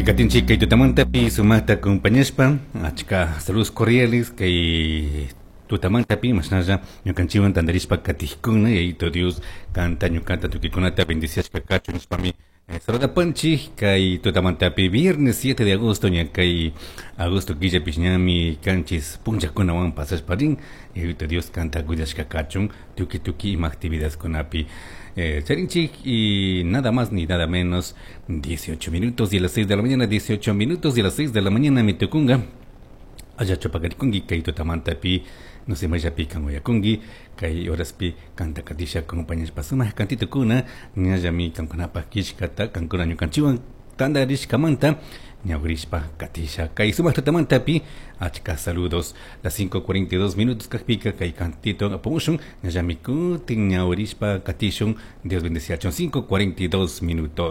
Katinchik kay tutamantapi sumaqta acompañashpa, achka saludos cordiales kay tutamantapi mashnalla ñukanchikwan tantarishpa katijkuna. Yayito Dios kanta, ñukata, tukuykunata bendiciashka kachun nishpami saludapanchik kay tutamantapi, viernes 7 de agosto. Ña kay agosto killapish ñami 7 punllakunawan pasashpa rin. Yayito Dios kanta cuidashka kachun tukuy tukuy ima actividadkunapi charinchik. Y nada más ni nada menos 18 minutos de las 6 de la mañana, 18 minutos de las 6 de la mañana mi tukunga. Allachu paqarikunki kay tutamantapi? No sé, mayllapi kan uyakunki kay horaspi? Kanta katisha acompañashpa sumaq kantitukuna ñallami kankunapaq killkata, kankuna ñukanchikwan tantarishkamanta ñawirishpa katisha kay sumaq tutamantapi. Achka saludos. Las 5:42 minutos kajpika kay kantito apamushun, ñallami kutin ñawirishpa katishun. Dios bendeciachun. 5:42 minutos.